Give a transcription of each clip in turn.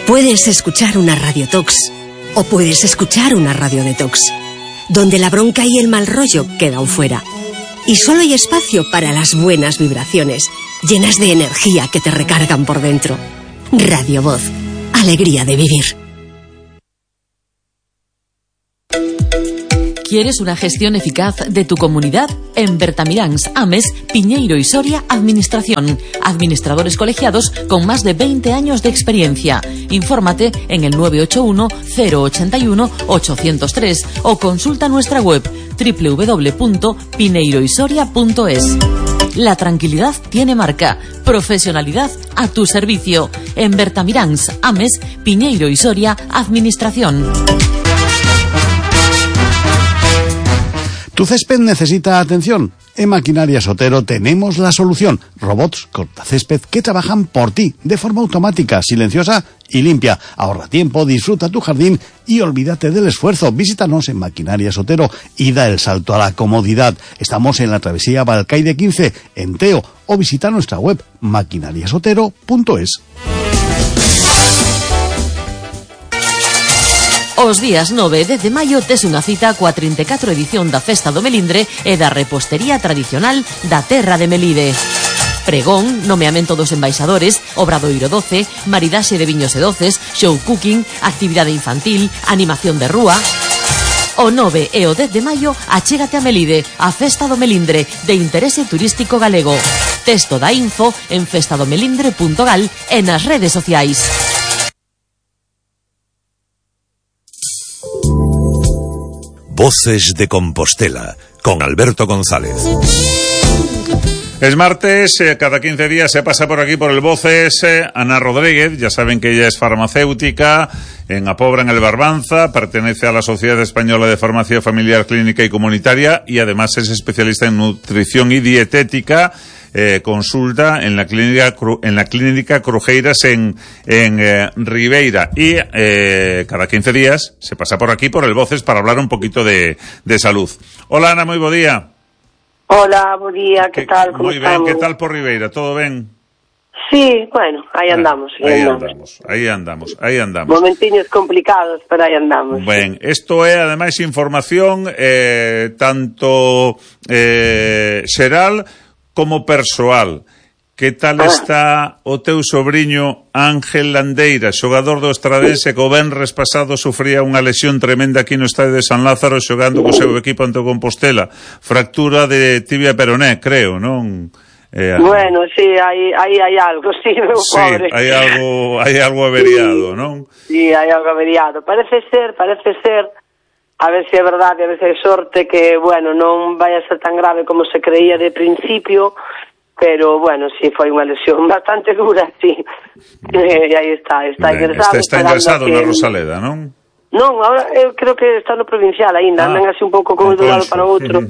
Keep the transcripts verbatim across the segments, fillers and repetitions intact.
Puedes escuchar una radiotox o puedes escuchar una radiodetox, donde la bronca y el mal rollo quedan fuera. Y solo hay espacio para las buenas vibraciones, llenas de energía que te recargan por dentro. Radio Voz, alegría de vivir. ¿Quieres una gestión eficaz de tu comunidad? En Bertamiráns, Ames, Piñeiro y Soria, Administración. Administradores colegiados con más de veinte años de experiencia. Infórmate en el nueve ocho uno, cero ocho uno, ocho cero tres o consulta nuestra web doble u doble u doble u punto pineiro y soria punto es. La tranquilidad tiene marca. Profesionalidad a tu servicio. En Bertamiráns, Ames, Piñeiro y Soria, Administración. ¿Tu césped necesita atención? En Maquinaria Sotero tenemos la solución. Robots cortacésped que trabajan por ti, de forma automática, silenciosa y limpia. Ahorra tiempo, disfruta tu jardín y olvídate del esfuerzo. Visítanos en Maquinaria Sotero y da el salto a la comodidad. Estamos en la travesía Balcaide quince, en Teo, o visita nuestra web maquinaria sotero punto es. Os días nove e dez de maio tes unha cita coa trinta e catro edición da Festa do Melindre e da repostería tradicional da terra de Melide. Pregón, nomeamento dos embaixadores, obradoiro doce, maridaxe de viños e doces, show cooking, actividade infantil, animación de rúa. O nove e o dez de maio achégate a Melide, a Festa do Melindre, de interese turístico galego. Texto da info en festadomelindre punto gal e nas redes sociais. Voces de Compostela, con Alberto González. Es martes, eh, cada quince días se pasa por aquí por el Voces eh, Ana Rodríguez. Ya saben que ella es farmacéutica en Apobra, en el Barbanza, pertenece a la Sociedad Española de Farmacia Familiar, Clínica y Comunitaria y además es especialista en nutrición y dietética. Eh, consulta en la clínica en la clínica Crujeiras en en eh, Ribeira y eh, cada quince días se pasa por aquí por el Voces para hablar un poquito de, de salud. Hola Ana, moi bo día. Hola, bo día, que, que tal? Como moi ben, que tal por Ribeira? Todo ben? Sí, bueno, aí andamos. Ah, aí andamos, aí andamos, aí andamos. Momentiños complicados, pero aí andamos. Ben, isto é ademais información eh, tanto eh, xeral como persoal. Que tal está o teu sobriño Ángel Landeira, xogador do Estradense, que o venres pasado sufría unha lesión tremenda aquí no estadio de San Lázaro xogando co seu equipo ante o Compostela? Fractura de tibia peroné, creo, non? Eh, bueno, sí, hai hai hai algo, sí, meu sí, pobre. hai algo, hai algo averiado, non? Sí, hai algo averiado. Parece ser, parece ser, a ver se é verdade, a ver se é sorte que, bueno, non vai a ser tan grave como se creía de principio, pero, bueno, sí, foi unha lesión bastante dura, sí. E aí está, está ben, ingresado. Está, está ingresado que... na Rosaleda, non? Non, ahora eu creo que está no provincial aínda, ah, andan así un pouco como de un lado para o outro.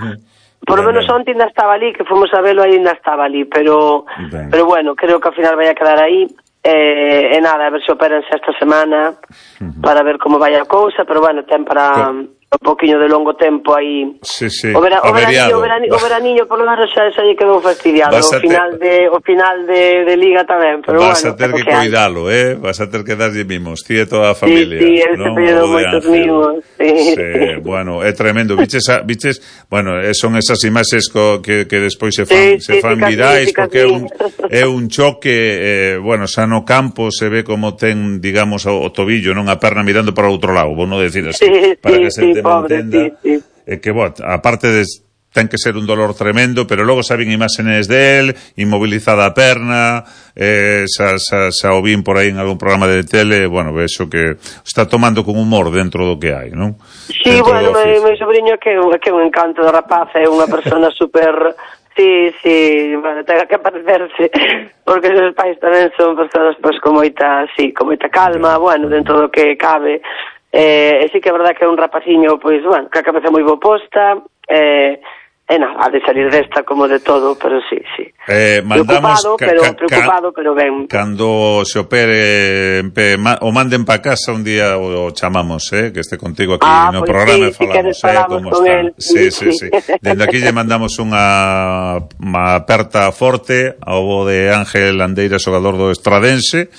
Por lo menos onte ainda estaba ali, que fomos a velo, ainda estaba ali, pero ben. pero bueno, creo que ao final vai a quedar aí. Eh, e nada, a ver se operanse esta semana uh-huh. para ver como vai a cousa, pero bueno, ten para un poquinho de longo tempo aí. Sí, sí. O, vera, o, veraniño, o, veraniño, o veraniño por lo menos xa, xa lle quedou fastidiado. O final, te... de, o final de, de liga tamén, pero vas bueno. Vas a ter que cuidalo, eh? Vas a ter que darlle mimos, ti e toda a familia. Sí, sí, él se pedido moitos mimos. Sí. Sí, bueno, é tremendo. Viches, a, viches bueno, son esas imaxes co, que, que despois se fan, sí, se fan sí, virais, porque é un, é un choque, eh, bueno, xa no campo se ve como ten, digamos, o, o tobillo, non a perna mirando para outro lado, vou non decir así, sí, para sí, que se sí, te pobre, entenda, sí, sí. Eh, que, bueno, aparte de ten que ser un dolor tremendo, pero logo saben imágenes del, inmovilizada a perna, eh, xa, xa, xa o vin por aí en algún programa de tele, bueno, vexo que está tomando con humor dentro do que hai, non? Sí, dentro bueno, meu, meu sobrinho que, que é un encanto de rapaz, é unha persona super... Sí, sí, bueno, tenga que parecerse, porque os pais tamén son persoas pois, con moita, sí, con moita calma, bueno, dentro do que cabe, eh, e sí que é verdad que é un rapaciño, pois, bueno, que a cabeza moi bo posta, eh, e nada, ha de salir desta como de todo, pero sí, sí. Eh, mandamos preocupado, ca, pero ca, preocupado, pero ben. Cando se opere, pe, ma, o manden pa casa un día o, o chamamos, eh, que este contigo aquí ah, no pues programa sí, e falamos, si eh, como está. Él. Sí, sí, sí. Dende aquí lle mandamos unha unha aperta forte ao bo de Ángel Landeira, xogador do Estradense,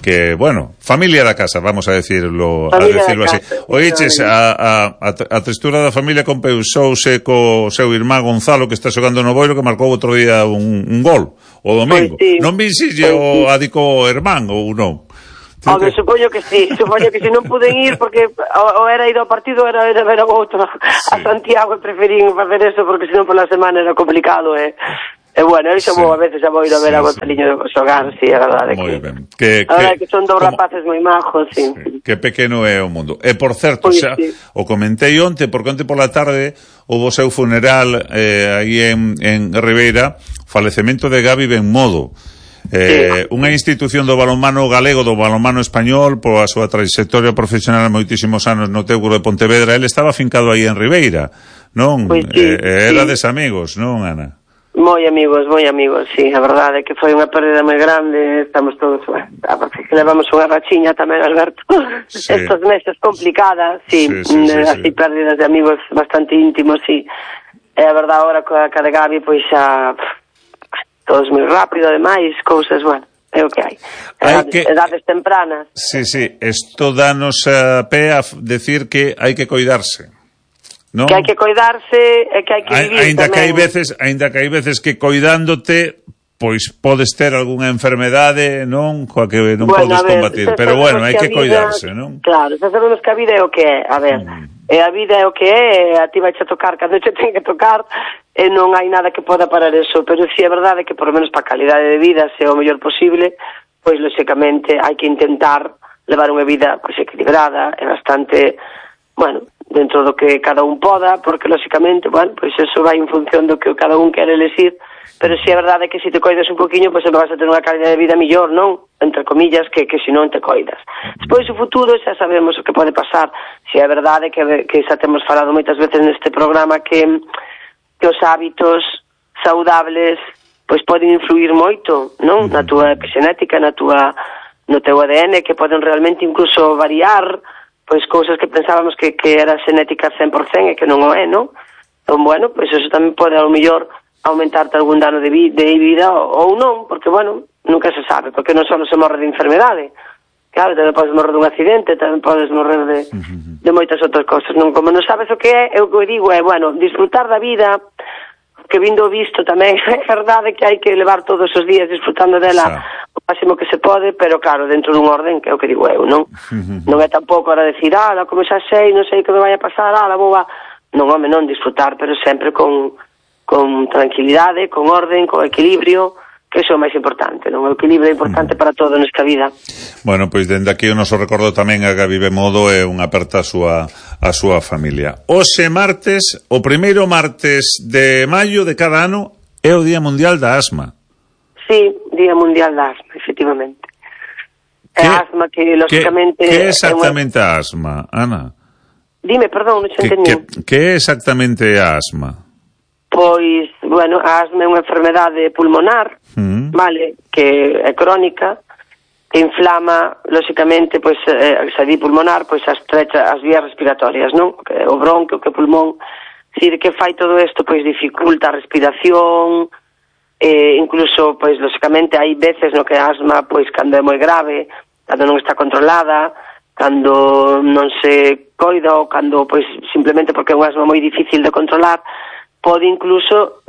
que, bueno, familia da casa, vamos a decirlo, familia a decirlo así. Casa, Oiches, a, a, a textura da familia compeusouse co seu irmán Gonzalo, que está xogando no Boiro, que marcou outro día un, un gol, o domingo. Pois sí. Non vi si lle o adico o irmán ou non? Home, supoño que sí, supoño que si non puden ir porque o, o era ir ao partido era, era ver a outro sí. A Santiago e preferín facer eso porque senón pola semana era complicado e, e bueno, eu xa sí. a veces xa vou ir a ver sí, a Gonzaliño sí. xogar, si, sí, a verdade moi que, ben. Que, a verdade que, que son dous como, rapaces moi majos, sí. sí. Que pequeno é o mundo. E por certo, pues, xa, sí. o comentei onte, porque onte pola tarde houve o seu funeral eh, aí en, en Ribeira, falecemento de Gabi Benmodo. Eh, sí. Unha institución do balonmano galego, do balonmano español, pola súa trayectoria profesional moitísimos anos no Teucro de Pontevedra. Ele estaba fincado aí en Ribeira, non? Pues sí, eh, era sí. des amigos, non, Ana? Moi amigos, moi amigos, sí, a verdade é que foi unha pérdida moi grande, estamos todos, bueno, que levamos unha rachiña tamén, Alberto, sí. Estos meses complicadas, sí, sí, sí, sí, así sí. Pérdidas de amigos bastante íntimos, sí, e a verdade agora coa cara de Gabi, pois xa... todos moi rápido, ademais, cousas, bueno, é o que hai. Edades, que... edades tempranas. Sí, sí, isto danos a pé a decir que hai que coidarse, non? Que hai que coidarse e que hai que vivir ainda tamén. Que hai veces, ainda que hai veces que coidándote, pois podes ter algunha enfermedade, non? Coa que non bueno, podes ver, combatir, pero bueno, hai que, que vida, coidarse, non? Claro, xa sabemos que a vida é o que é, a ver, mm. e a vida é o que é, a ti vai a tocar cando che ten que tocar, e non hai nada que poda parar eso, pero si é verdade que por lo menos para a calidade de vida sea o mellor posible, pois lógicamente hai que intentar levar unha vida pois equilibrada e bastante, bueno, dentro do que cada un poda, porque lógicamente, bueno, pois eso vai en función do que cada un quere elegir, pero si é verdade que se te coidas un poquinho, pois sempre vas a ter unha calidade de vida mellor, non? Entre comillas, que, que se non te coidas. Despois o futuro xa sabemos o que pode pasar. Si é verdade que, que xa temos falado moitas veces neste programa que que os hábitos saudables pois poden influir moito, non? Na túa epigenética, na túa no teu A D N, que poden realmente incluso variar pois cousas que pensábamos que, que era xenética cen por cen e que non o é, non? Entón, bueno, pois eso tamén pode ao mellor aumentarte algún dano de, vi, de vida ou, ou non, porque, bueno, nunca se sabe, porque non só se morre de enfermedade. Claro, tamén podes morrer dun accidente, tamén podes morrer de, de moitas outras cosas, non? Como non sabes o que é, eu que digo é, bueno, disfrutar da vida, que vindo visto tamén, é verdade que hai que levar todos os días disfrutando dela o máximo que se pode, pero claro, dentro dun orden, que é o que digo eu, non? Non é tampouco ahora decir, ah, como xa sei, non sei que me vai a pasar, ah, la boba, non, home, non, disfrutar, pero sempre con, con tranquilidade, con orden, con equilibrio, que iso é o máis importante, non? O equilibrio é importante para todo nesta vida. Bueno, pois dende aquí o noso recordo tamén a Gabi Benmodo e unha aperta a súa a súa familia. Hoxe martes, o primeiro martes de maio de cada ano é o Día Mundial da Asma. Sí, Día Mundial da Asma, efectivamente. É a asma que, lógicamente... Que é exactamente a asma, Ana? Dime, perdón, non xe entendí. Que é exactamente a asma? Pois, bueno, a asma é unha enfermedade pulmonar, mm. vale, que é crónica, que inflama, lógicamente, pois, eh, se di pulmonar, pois as estrecha as vías respiratorias, non? O bronquio, que o pulmón, dicir, que fai todo isto, pois, dificulta a respiración, eh, incluso, pois, lógicamente, hai veces no que a asma, pois, cando é moi grave, cando non está controlada, cando non se coida ou cando, pois, simplemente porque é unha asma moi difícil de controlar, pode incluso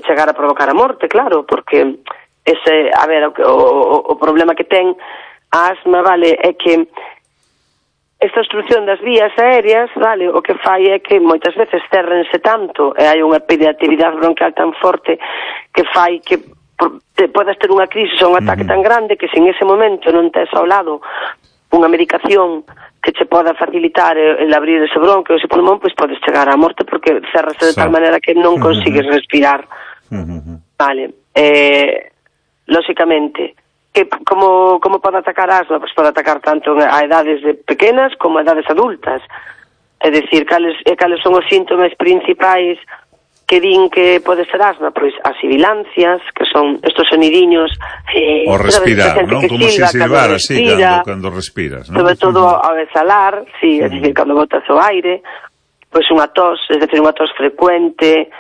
chegar a provocar a morte, claro, porque ese, a ver, o, o, o problema que ten a asma, vale, é que esta obstrucción das vías aéreas, vale, o que fai é que moitas veces cerrense tanto e hai unha hiperactividade bronquial tan forte que fai que te podas ter unha crisis ou un ataque tan grande que se en ese momento non tes ao lado unha medicación que che poda facilitar el abrir ese bronquio, ese pulmón, pois podes chegar á morte porque cerrase de tal manera que non consigues respirar. Vale. Eh, lógicamente, que como, como pode atacar a asma? Pois pode atacar tanto a edades de pequenas como a edades adultas. É dicir, cales, cales son os síntomas principais que din que pode ser asma? Pois as sibilancias, que son estos sonidiños eh, o respirar, non? Como se silbar así cando, cando respiras, non? Sobre todo ao exhalar, sí, é dicir, cando botas o aire, pois unha tos, é dicir, unha tos frecuente,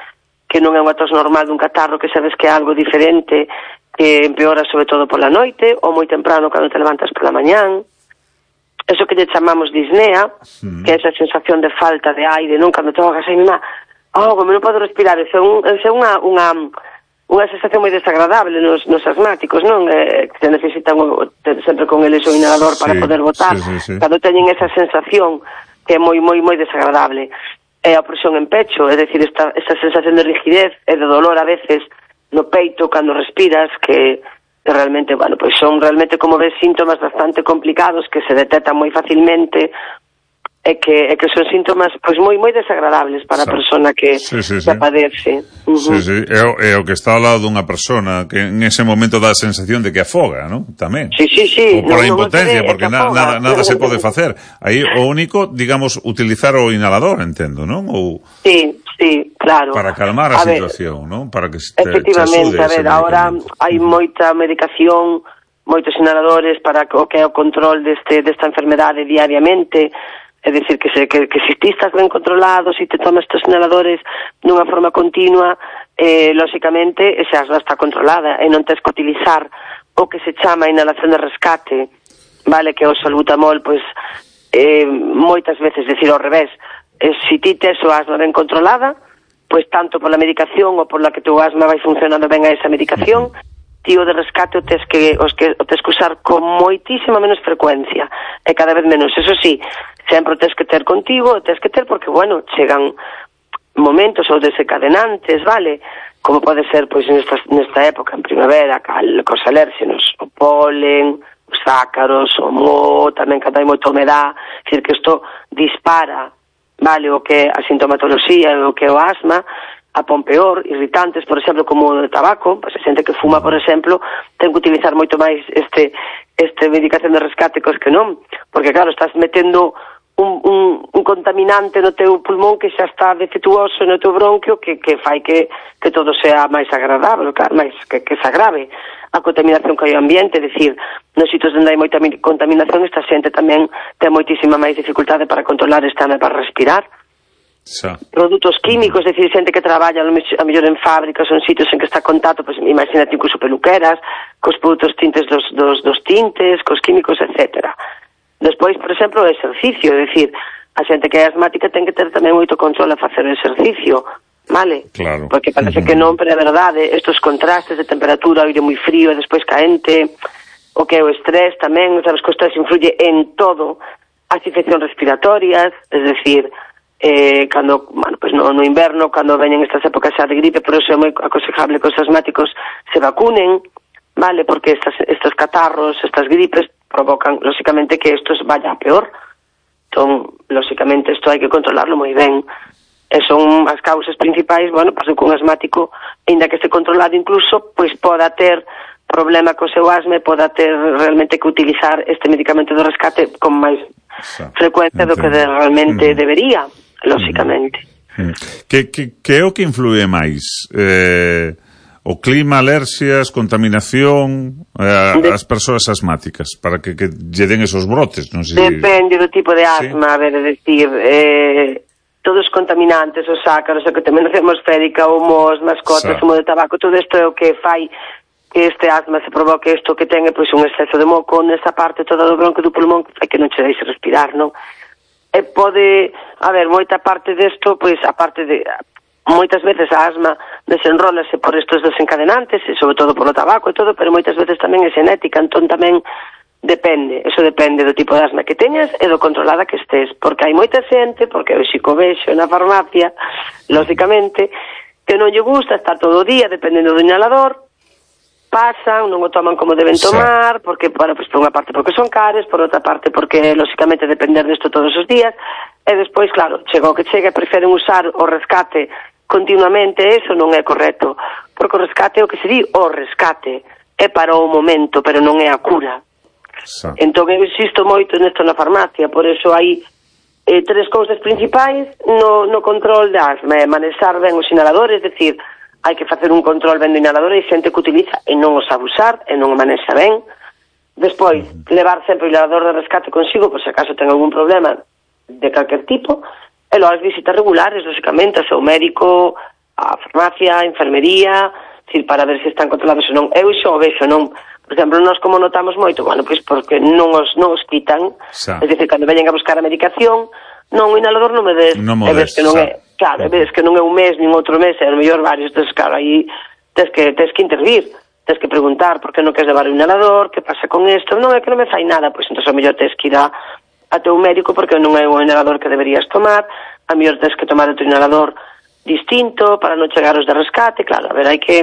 que non é unha tos normal dun catarro, que sabes que é algo diferente, que empeora sobre todo pola noite ou moi temprano cando te levantas pola mañán. Eso que lle chamamos disnea, mm. que é esa sensación de falta de aire, non? Cando te ahogas aí, má, oh, como non podo respirar, eso é, un, eso é unha, unha, unha sensación moi desagradable nos, nos asmáticos, non? Eh, que se necesitan o, sempre con eles o inhalador para sí, poder botar. Sí, sí, sí. Cando teñen esa sensación que é moi, moi, moi desagradable. É a opresión en pecho, é dicir, esta, esta sensación de rigidez e de dolor a veces no peito cando respiras, que realmente, bueno, pois son realmente, como ves, síntomas bastante complicados que se detectan moi facilmente e que, e que son síntomas pois moi moi desagradables para a persona que, sí, sí, que sí. padece. Uh-huh. Sí, sí, é o, é o que está ao lado dunha persona que en ese momento dá a sensación de que afoga, ¿no? Tamén. Sí, sí, sí. Ou por no, a impotencia, no porque na, nada, nada se pode facer. Aí o único, digamos, utilizar o inhalador, entendo, non? Ou sí, sí, claro. Para calmar a, a situación, non? Para que te, efectivamente, te a ver, agora hai moita medicación, moitos inhaladores para o que é o control deste desta enfermedade diariamente. É dicir, que, se, que, que se ti estás ben controlado, se te tomas estes inhaladores dunha forma continua, eh, lóxicamente, esa asma está controlada e non tens que utilizar o que se chama inhalación de rescate, vale, que é o salbutamol, pois, eh, moitas veces, decir, ao revés, eh, se ti tes o asma ben controlada, pois tanto pola medicación ou pola que tu asma vai funcionando ben a esa medicación, tío de rescate o tes que os que o tes que usar con moitísima menos frecuencia e cada vez menos. Eso sí, sempre o tes que ter contigo, o tes que ter porque, bueno, chegan momentos ou desencadenantes, vale? Como pode ser, pois, nesta, nesta época, en primavera, cal, cos alérxenos, o polen, os ácaros, o moho, tamén cando hai moita humedad, é dicir, que isto dispara, vale, o que a sintomatoloxía, o que o asma, a pon peor, irritantes, por exemplo, como o de tabaco, pois a xente que fuma, por exemplo, ten que utilizar moito máis este este medicación de rescate cos que non, porque claro, estás metendo un, un, un contaminante no teu pulmón que xa está defectuoso no teu bronquio que, que fai que, que todo sea máis agradable, claro, máis que, que se agrave a contaminación que hai ao ambiente, é dicir, nos sitios onde hai moita contaminación, esta xente tamén ten moitísima máis dificultade para controlar esta asma, para respirar. Xa. Produtos químicos, é dicir, xente que traballa a mellor en fábricas ou en sitios en que está contacto, pois imagínate incluso peluqueras, cos produtos tintes dos, dos, dos tintes, cos químicos, etcétera. Despois, por exemplo, o exercicio, é dicir, a xente que é asmática ten que ter tamén moito control a facer o exercicio, vale? Claro. Porque parece uh-huh. que non, pero é verdade, estos contrastes de temperatura, aire moi frío e despois caente, o que é o estrés tamén, sabes que o estrés influye en todo, as infeccións respiratorias, é dicir, eh, cando, bueno, pues no, no inverno, cando veñen estas épocas xa de gripe, por eso é moi aconsejable que os asmáticos se vacunen, vale, porque estas, estos catarros, estas gripes, provocan, lóxicamente, que estos vaya a peor. Entón, lóxicamente, isto hai que controlarlo moi ben. E son as causas principais, bueno, pues que un asmático, ainda que este controlado incluso, pois poda ter problema co seu asma e poda ter realmente que utilizar este medicamento de rescate con máis frecuencia do que de, realmente mm. debería, lóxicamente. Mm. Que, que, que é o que influe máis? Eh, o clima, alerxias, contaminación, eh, de... as persoas asmáticas, para que, que lle den esos brotes, non sei. Depende do tipo de asma, ¿sí? A ver, é dicir, eh, todos os contaminantes, os ácaros, a contaminación atmosférica, o moho, as mascotas, o moho de tabaco, todo isto é o que fai que este asma se provoque isto que ten, pois, un exceso de moco nesa parte toda do bronco do pulmón que fai que non che deixe respirar, non? E pode haber moita parte desto, pois, a parte de... moitas veces a asma desenrólase por estos desencadenantes, e sobre todo por o tabaco e todo, pero moitas veces tamén é xenética, entón tamén depende, eso depende do tipo de asma que teñas e do controlada que estés, porque hai moita xente, porque eu xico vexo na farmacia, lógicamente, que non lle gusta estar todo o día dependendo do inhalador, pasan, non o toman como deben tomar, porque, bueno, pues, por unha parte porque son cares, por outra parte porque, lóxicamente, depender desto todos os días, e despois, claro, chega o que chega, preferen usar o rescate continuamente, eso non é correcto, porque o rescate é o que se di, o rescate, é para o momento, pero non é a cura. Sí. Entón, eu insisto moito nesto na farmacia, por eso hai eh, tres cousas principais no, no control de asma, é manexar ben os inhaladores, é dicir, hai que facer un control ben do inhalador e xente que utiliza e non os abusar e non o manexa ben. Despois, levar sempre o inhalador de rescate consigo por se acaso ten algún problema de calquer tipo e logo as visitas regulares, lógicamente, ao seu médico a farmacia, a enfermería, decir, para ver se están controlados ou non. Eu xo o vexo, non? Por exemplo, nós como notamos moito, bueno, pois porque non os, non os quitan, xa. Es dicir, cando veñen a buscar a medicación, non, o inhalador non me des, non e ves que non xa. é, claro, e ves que non é un mes, nin outro mes, é o mellor varios, entonces, claro, aí tes que, tes que intervir, tes que preguntar por que non queres levar o inhalador, que pasa con isto, non é que non me fai nada, pois entón, o mellor tes que ir a, a teu médico porque non é o inhalador que deberías tomar, a mellor tes que tomar outro inhalador distinto para non chegar aos de rescate, claro, a ver, hai que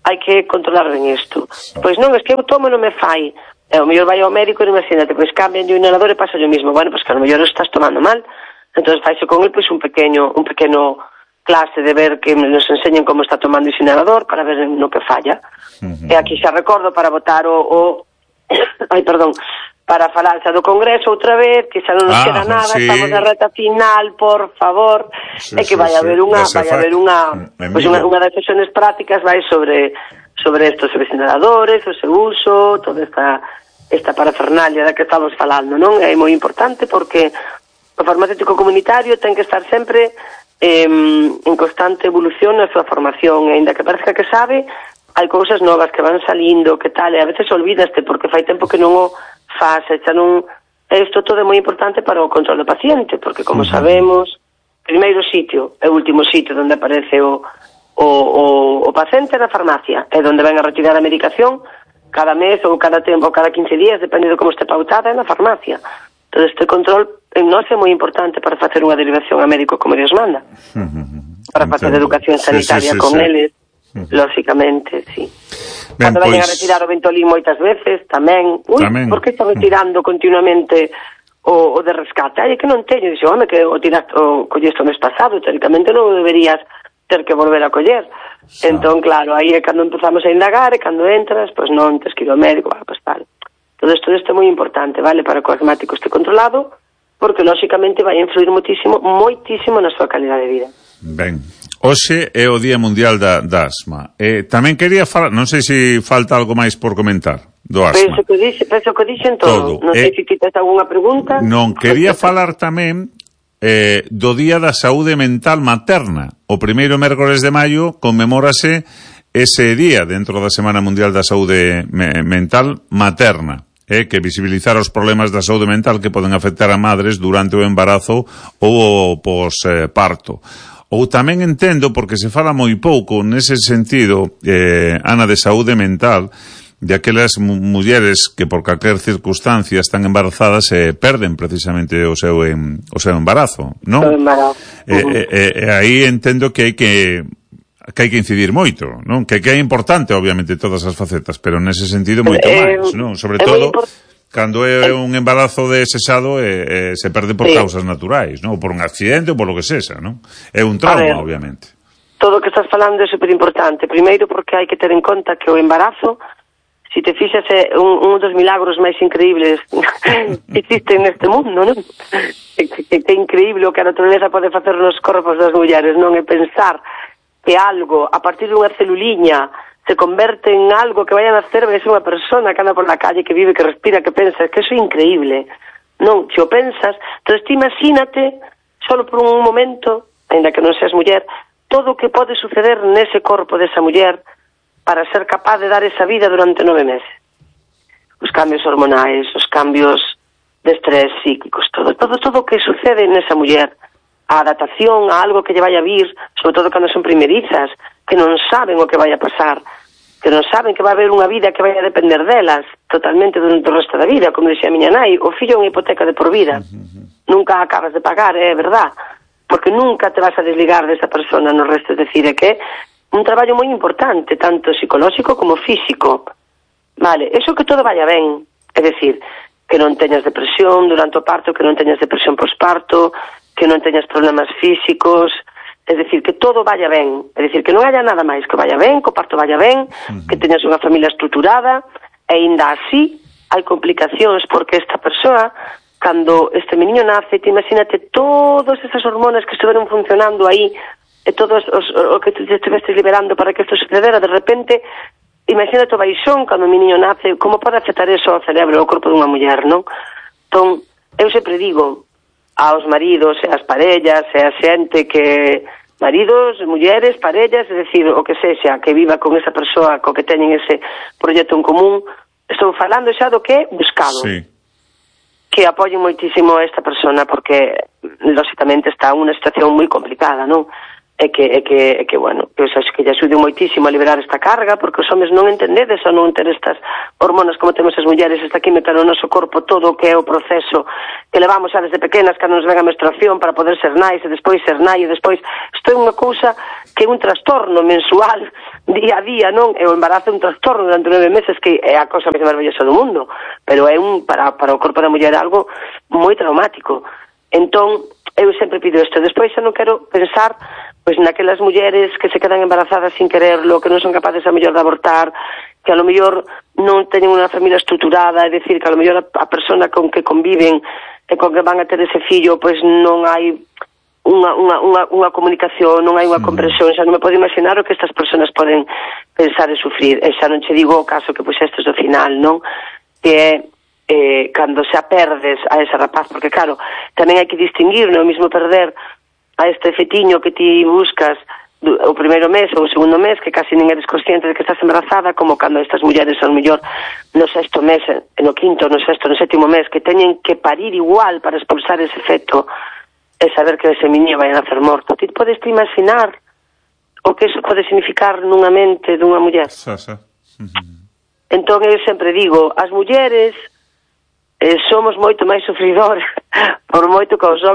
hai que controlar ben isto. Pois non, es que eu tomo e non me fai. E o mellor vai ao médico e imagínate, pois cambian o inhalador e pasa o mismo. Bueno, pois que a lo mellor estás tomando mal. Entón faise con el pois un pequeño un pequeno clase de ver que nos enseñen como está tomando ese inhalador para ver no que falla. Uh-huh. E aquí xa recordo para votar o, o ai, perdón, para falar xa do Congreso outra vez, que xa non nos ah, queda nada, sí. Estamos na reta final, por favor, sí, e que vai sí, haber unha, vai haber unha, pois unha, unha das sesións prácticas vai sobre sobre estos inhaladores, o seu uso, toda esta esta parafernalia da que estamos falando, non? É moi importante porque o farmacéutico comunitario ten que estar sempre eh, en constante evolución na súa formación, e ainda que parezca que sabe, hai cousas novas que van salindo, que tal, e a veces olvidaste porque fai tempo que non o faz, xa non... Isto todo é moi importante para o control do paciente, porque como uh-huh. sabemos, primeiro sitio é o último sitio onde aparece o, o, o, o paciente na farmacia, é onde ven a retirar a medicación cada mes ou cada tempo, ou cada quince días, depende de como este pautada, é na farmacia. Entón este control en nós é moi importante para facer unha derivación a médico como Dios manda, uh-huh. para facer educación sanitaria sí, sí, sí, con sí. eles, uh-huh. lógicamente, sí. Ben, cando veñen pois... a retirar o Ventolin moitas veces, tamén, ui, tamén. Por que está retirando continuamente o, o de rescate? Ai, é que non teño, dixo, home, que o tiraste, o colleste o mes pasado, teóricamente non o deberías ter que volver a coller. Ah. Entón, claro, aí é cando empezamos a indagar, e cando entras, pois non, tes que ir ao médico, bueno, pois tal. Todo isto, isto é moi importante, vale, para que o asmático este controlado, porque, lógicamente, vai influir moitísimo, moitísimo na súa calidad de vida. Ben. Hoxe é o Día Mundial da, da Asma. Eh, tamén quería falar, non sei se falta algo máis por comentar do asma. Penso que dixe, penso que dixen todo. todo. Non sei eh, se quitas algunha pregunta. Non, quería falar tamén eh, do Día da Saúde Mental Materna. O primeiro mércores de maio conmemórase ese día dentro da Semana Mundial da Saúde me, Mental Materna. Eh, que visibilizar os problemas da saúde mental que poden afectar a madres durante o embarazo ou o posparto. Ou tamén entendo, porque se fala moi pouco nese sentido, eh, Ana, de saúde mental, de aquelas mulleres que por calquer circunstancia están embarazadas e eh, perden precisamente o seu, em, o seu embarazo, non? O embarazo. Eh, eh, eh, aí entendo que hai que que hai que incidir moito, non? Que, que é importante, obviamente, todas as facetas, pero nese sentido moito eh, máis, non? Sobre todo... Cando é un embarazo desexado eh, eh, se perde por sí. causas naturais, non? Ou por un accidente ou por lo que sexa, non? É un trauma, ver, obviamente. Todo o que estás falando é superimportante. Primeiro porque hai que ter en conta que o embarazo, se te fixas, é un, un dos milagros máis increíbles que existen neste mundo, non? Que, que, que é increíble o que a natureza pode facer nos corpos das mulleres, non? É pensar que algo, a partir dunha celuliña, se converte en algo que vaya a nacer, vai ser unha persona que anda por la calle, que vive, que respira, que pensa, que eso é increíble. Non, se o pensas, entonces ti imagínate, solo por un momento, ainda que non seas muller, todo o que pode suceder nese corpo desa muller para ser capaz de dar esa vida durante nove meses. Os cambios hormonais, os cambios de estrés psíquicos, todo, todo, todo o que sucede nesa muller, a adaptación a algo que lle vai a vir, sobre todo cando son primerizas, que non saben o que vai a pasar, que non saben que vai haber unha vida que vai a depender delas totalmente durante o resto da vida, como dixía a miña nai, o fillo é unha hipoteca de por vida. Uh-huh. Nunca acabas de pagar, é verdad, porque nunca te vas a desligar desa persona no resto, é dicir, é que un traballo moi importante, tanto psicolóxico como físico. Vale, eso que todo vaya ben, é dicir, que non teñas depresión durante o parto, que non teñas depresión posparto, que non teñas problemas físicos, é dicir, que todo vaya ben, é dicir, que non haya nada máis, que vaya ben, que o parto vaya ben, uh-huh. que teñas unha familia estruturada, e ainda así hai complicacións, porque esta persoa, cando este meniño nace, te imagínate todas esas hormonas que estiveron funcionando aí, e todos os, o que te estivestes liberando para que isto sucedera, de repente, imagínate o baixón cando o meniño nace, como pode afectar eso ao cerebro, ao corpo dunha muller, non? Entón, eu sempre digo aos maridos e ás parellas e a xente que maridos, mulleres, parellas, é dicir, o que sexa, que viva con esa persoa co que teñen ese proxecto en común. Estou falando xa do que é buscado. Sí. Que apoyen moitísimo a esta persona, porque, lógicamente, está en unha situación moi complicada, non? É que, é que, é que, bueno, que, xa, que lle axude moitísimo a liberar esta carga, porque os homens non entendedes ou non ter estas hormonas como temos as mulleres, esta química no noso corpo, todo o que é o proceso que levamos xa desde pequenas, cando nos ven a menstruación para poder ser nais, e despois ser nai, e despois, isto é unha cousa que é un trastorno mensual, día a día, non? E o embarazo é un trastorno durante nove meses, que é a cousa máis maravillosa do mundo, pero é un, para, para o corpo da muller, algo moi traumático. Entón, eu sempre pido isto. Despois xa non quero pensar pois naquelas mulleres que se quedan embarazadas sin quererlo, que non son capaces a mellor de abortar, que a lo mellor non teñen unha familia estruturada, é dicir, que a lo mellor a, a persona con que conviven e con que van a ter ese fillo, pois non hai unha, unha, unha, unha comunicación, non hai unha comprensión, xa non me podo imaginar o que estas personas poden pensar e sufrir. E xa non che digo o caso que puxestes do final, non? Que é eh, cando xa perdes a ese rapaz, porque claro, tamén hai que distinguir, non é o mismo perder a este fetiño que ti buscas o primeiro mes ou o segundo mes, que casi nin eres consciente de que estás embarazada, como cando estas mulleres son mellor no sexto mes, no quinto, no sexto, no sétimo mes, que teñen que parir igual para expulsar ese feto e saber que ese niño vai a nacer morto. Ti podes te imaginar o que eso pode significar nunha mente dunha muller? Sí, sí. Uh-huh. Entón eu sempre digo, as mulleres eh, somos moito máis sufridores por moito que os homens